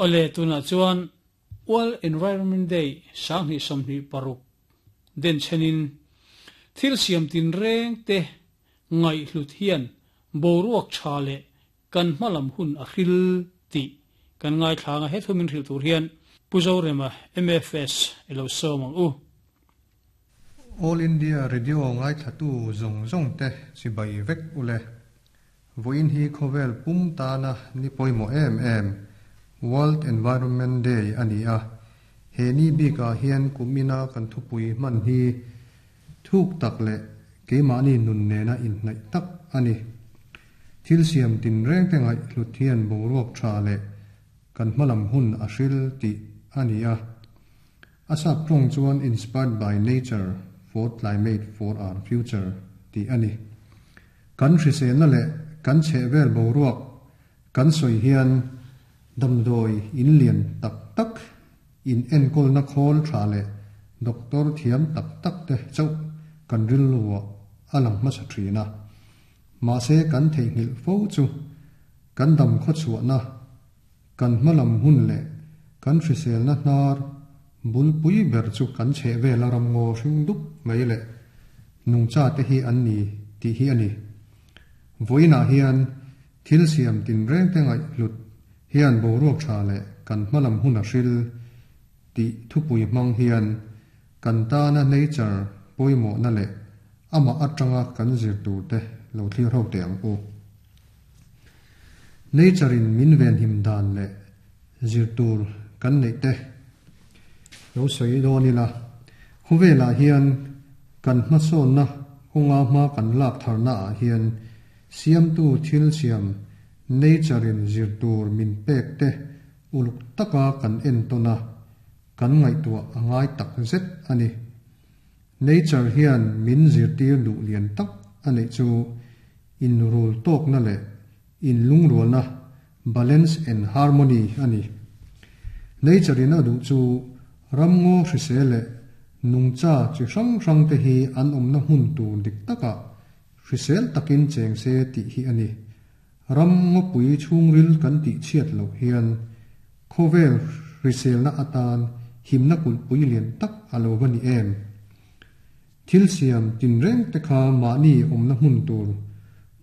Awle, tunah chuan World Environment Day 2026 denchhenin thil siam tinreng te ngaihhlut hian boruak tha leh kan hmalam hun a hril tih kan ngaithla anga he thu min hrilh tur hian Pu Zorema, MFS, i lo sawm ang u. All India Radio ngaithlatu zawng zawng te chibai vek ule. Vawiin hi khawvel pum tana ni pawimawh em em, World Environment Day a ni a. He ni bikah hian kum ina kan thupui hman hi thuk tak leh keimahni nun nena inhnaih tak a ni. Thil siam tinreng te ngaih hlut hian boruak tha leh kan hmalam hun a hril tih a ni a. A sap tawng chuan Inspired by Nature for Climate for Our Future tih a ni. Kan hriselna leh kan chhehvel boruak kan sawi hian damdawi in lian tak tak, in enkawlna khawl tha leh doctor thiam tak tak te chauh kan rilruah a lang hmasa thin a. Mahse kan theihnghilh fo chu kan dam khawchhuahna, kan hmalam hun leh kan hriselna hnar bulpui ber chu kan chhehvela ramngaw hring dup mai leh nungcha te hi an ni tih hi a ni. Vawiinah hian thil siam tinreng te ngaihhlut hian boruak tha leh kan hmalam hun a hril tih thupui hmang hian kan tana nature pawimawhna leh amah atanga kan zir tur te lo thlir ho teh ang u. Nature in min venhim dan leh zir tur kan neih te lo sawi dawn ila, khawvelah hian kan hmasawnna kawnga hma kan lak tharna ah hian siamtu thil siam nature in zir tur min pek te uluk taka kan entawn a, kan ngaihtuah a ngai tak zet a ni. Nature hian min zirtir duh lian tak a neih chu inrul tawkna leh inlungrualna, balance and harmony, a ni. Nature in a duh chu ramngaw hrisel leh nungcha chi hrang hrang te hi an awmna hmun tur dik takah hrisel takin cheng se tih hi a ni. Ram ngawpui chhungril kan tih chhiat loh hian khawvel hriselna atan himna kulhpui lian tak a lo va ni em? Thil siam tinreng te kha mahni awmna hmun tur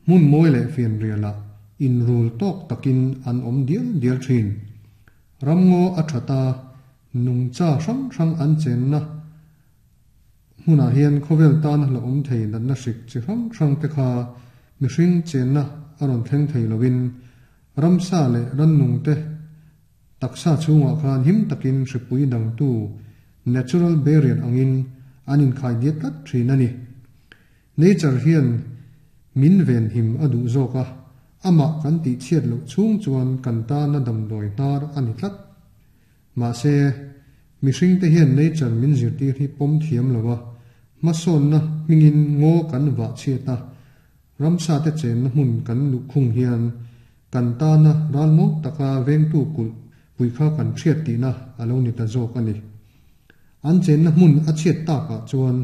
hmun mawi leh fianrialah inrul tawk takin an awm dial dial thin. Ramngaw a that a, nungcha hrang hrang an chenna Hmunah hian khawvel tana hlauhawm thei natna hrik chi hrang hrang te kha mihring chenna a rawn thleng thei loin ramsa leh rannung te taksa chhungah khan him takin hripui dangtu natural barrier angin an inkhai diat tlat thin a ni. Nature hian min venhim a duh zawk a, amah kan tihchhiat loh chhung chuan kan tana damdawi hnar a ni tlat. Mahse, mihringte hian nature min zirtir hi pawm thiam lo a, hmasawnna hmingin ngaw kan vah chhiat a, ramsate chenna hmun kan luhkhung hian kan tana ralmuang taka vengtu kulh pui kha kan hriat tihna a lo ni ta zawk a ni. An chenna hmun a chhiat takah chuan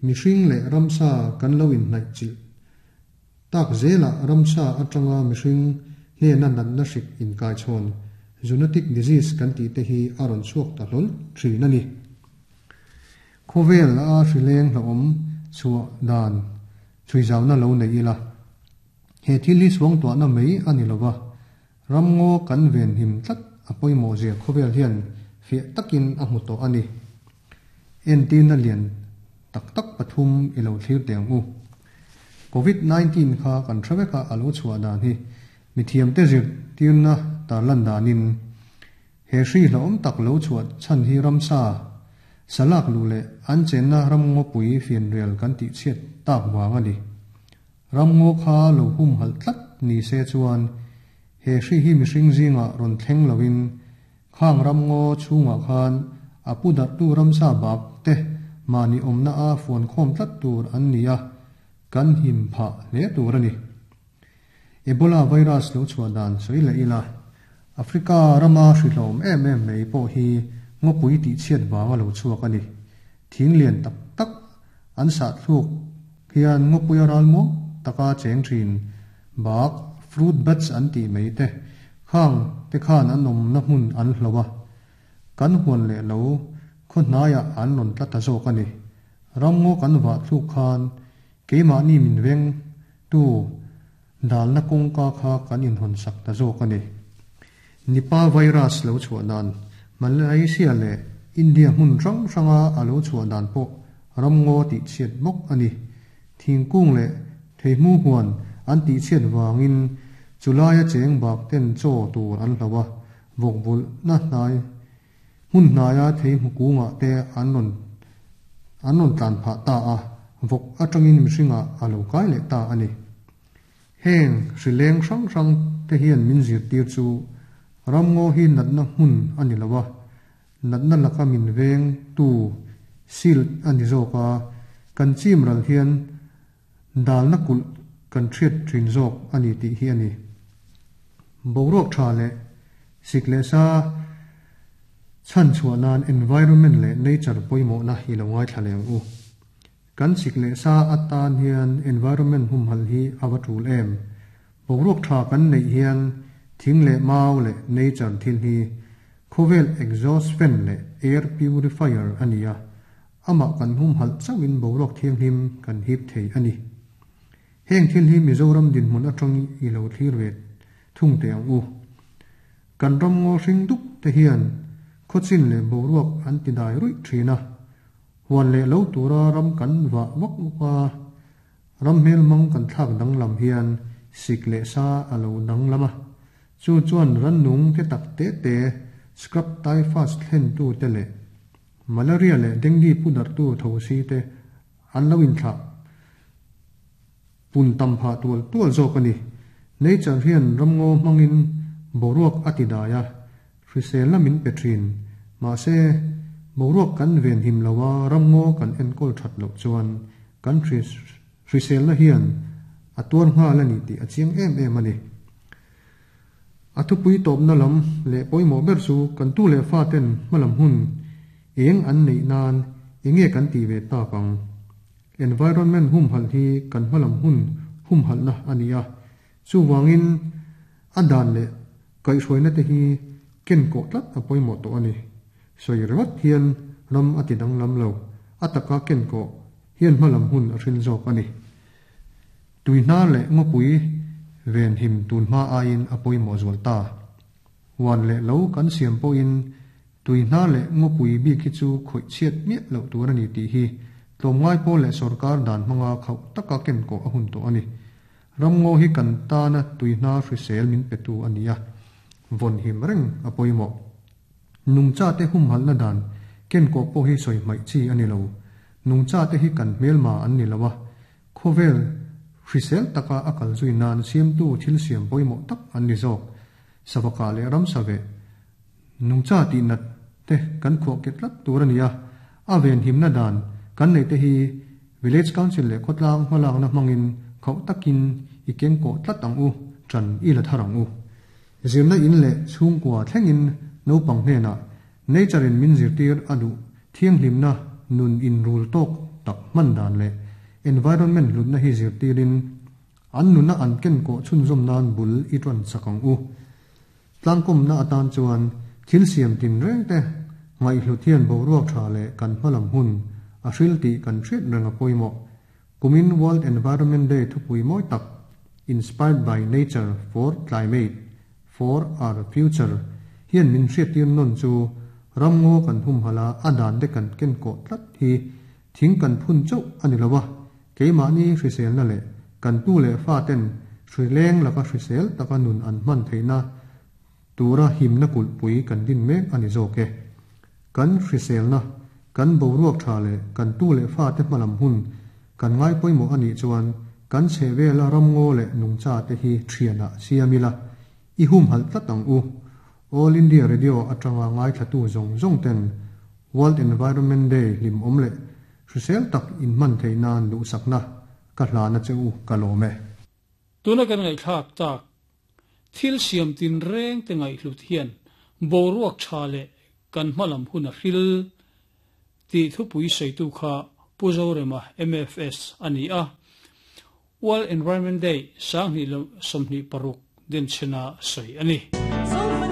mihring leh ramsa kan lo inhnaih chilh Tak zelah ramsa atanga mihring hnena natna hrik inkaichhawn, zoonotic disease, kan tih te hi a rawn chhuak ta hlawl thin a ni. Khawvel a hrileng hlauhawm chhuah dan chhuizauna lo nei ila, he thil hi suangtuahna mai a ni lova, ramngaw kan venhim tlat a pawimawh zia khawvel hian fiah takin a hmu tawh a ni. Entirna lian tak tak pathum i lo thlir teh ang u. Covid 19 kha kan hre vek a, a lo chhuah dan hi mithiamte zirtirna tarlan danin he hri hlauhawm tak lo chhuah chhan hi ramsa, salak luh leh an chenna ramngawpui fianrial kan tihchhiat tak vang a ni. Ramngaw kha lo humhalh tlat ni se chuan he hri hi mihring zingah rawn thleng loin Khang ramngaw chhungah khan a pu darhtu ramsa bak te mahni awmna a fuan khawm tlat tur an ni a, kan him phah hle tur a ni. Ebola virus lo chhuah dan sawi leh ila, Africa rama hrihlawm em em mai pawh hi ngawpui tihchhiat vanga lo chhuak a ni. Thing lian tak tak an sah thluk hian ngawpuia ral muang taka cheng thin bak, fruit bats an tih mai te, Khang te khan an awmna hmun an hloh a, kan huan leh lo khaw hnaiah an rawn tla ta zawk a ni. Ramngaw kan vah thluk khan keimahni min veng tu dalna kawngka kha kan inhawn sak ta zawk a ni. Nipah virus lo chhuah dan, Malaysia leh India hmun hrang hranga a lo chhuah dan pawh ramngaw tihchhiat bawk a ni. Thingkung leh theihmu huan an tihchhiat vangin chulaia cheng bak ten chaw tur an hloh a, vawkvulhna hnai hmun hnaia theihmu kungah te an rawn an rawn tlan phah ta a, vawk atangin mihringah a lo kai leh ta a ni. Heng hrileng hrang hrang te hian min zirtir chu ramngaw hi natna hmun a ni lo a, natna laka min veng tu shield a ni zawk a, kan chim ral hian dalna kulh kan hriat thin zawk a ni tih hi a ni. Boruak tha leh sik leh sa chhan chhuah nan environment leh nature pawimawhna i lo ngaithla leh ang u. Kan sik leh sa atan hian environment humhalh hi a va tul em? Boruak tha kan neih hian thing leh mau leh nature thil hi khawvel exhaust fan leh air purifier a ni a, amah kan humhalh chauhin boruak thianghlim kan hip thei a ni. Heng thil hi Mizoram dinhmun atang i lo thlir ve thung teh ang u. Kan ram ngaw hring dup te hian khawchin leh boruak an ti dai ruih thin a, huan leh lo tura ram kan vah vak vak a, ram hmelhmang kan thlak danglam hian sik leh sa a lo danglam a, chu chuan rannung te tak te te, scrub typhus thlentu te leh malaria leh dengue pu darhtu tho si te an lo inthlah pun tam phah tual tual zawk a ni. Nature hian ramngaw hmangin boruak a ti dai a, hriselna min pe thin. Mahse, boruak kan venhim lo a, ramngaw kan enkawl that loh chuan kan hriselna hian a tuar nghal a ni tih a chiang em em a ni. A thupui tawpna lam leh pawimawh ber chu kan tu leh fa ten hmalam hun eng an neih nan enge kan tih ve tak ang. Environment humhalh hi kan hmalam hun humhalhna a ni a, chuvangin a dan leh kaihhruaina te hi ken kawh tlat a pawimawh tawh a ni. Sawi ringawt hian ram a ti danglam lo, a taka ken kawh hian hmalam hun a hrin zawk a ni. Tuihnar leh ngawpui venhim tunhma aiin a pawimawh zual ta. Huan leh lo kan siam pawhin tuihnar leh ngawpui bik hi chu khawih chhiat miah loh tur a ni tih hi tlawmngai pawl leh sorkar dan hmanga khauh taka ken kawh a hun tawh a ni. Ramngaw hi kan tana tuihnar hrisel min petu a ni a, vawnhim reng a pawimawh. Nungchate humhalhna dan ken kawh pawh hi sawi hmaih chi a ni lo. Nungchate hi kan hmelma an ni lo a, Khawvel hrisel taka a kal zui nan siamtu thil siam pawimawh tak an ni zawk. Savaka leh ramsa veh nungcha tih nat te kan khuah ke tlat tur a ni a, a venhimna dan kan neih te hi Village Council leh khawtlang hmalakna hmangin khauh takin i kengkawh tlat ang u, ṭan i la thar ang u. Zirna in leh chhungkua thlengin naupang hnenah Nature in min zirtir a duh thianghlimna nun inrul tawk tak hman dan leh environment hlutna hi zirtirin an nuna an kenkawh chhunzawm nan bul i ṭawn chak ang u. Tlangkawmna atan chuan thil siam tinreng te ngaihhlut hian boruak ṭha leh kan hmalam hun a hril tih kan hriat reng a pawimawh. Kumin World Environment Day thupui mawi tak Inspired by Nature for Climate For our future hian min hriattir nawn chu ramngaw kan humhalh a, a dan te kan ken kawh tlat hi thing kan phun chauh a ni lo a, keimahni hriselna leh kan tu leh fa ten hrileng laka hrisel taka nun an hman theihna tura himna kulhpui kan din mek a ni zawk e. Kan hriselna, kan boruak tha leh kan tu leh fa te hmalam hun kan ngai pawimawh a nih chuan kan chhehvela ramngaw leh nungcha te hi thianah siam ila, i humhalh tlat ang u. All India Radio atanga ngaithlatu zawng zawng ten World Environment Day hlimawm leh hrisel tak inhman theih nan duhsakna ka hlana che u ka lawm e. Tuna kan ngaihthlak tak thil siam tinreng te ngaihhlut hian boruak tha leh kan hmalam hun a hril tih thupui sawitu kha Pu Zorema, MFS, a ni a. World Environment Day 2026 denchhena sawi a ni.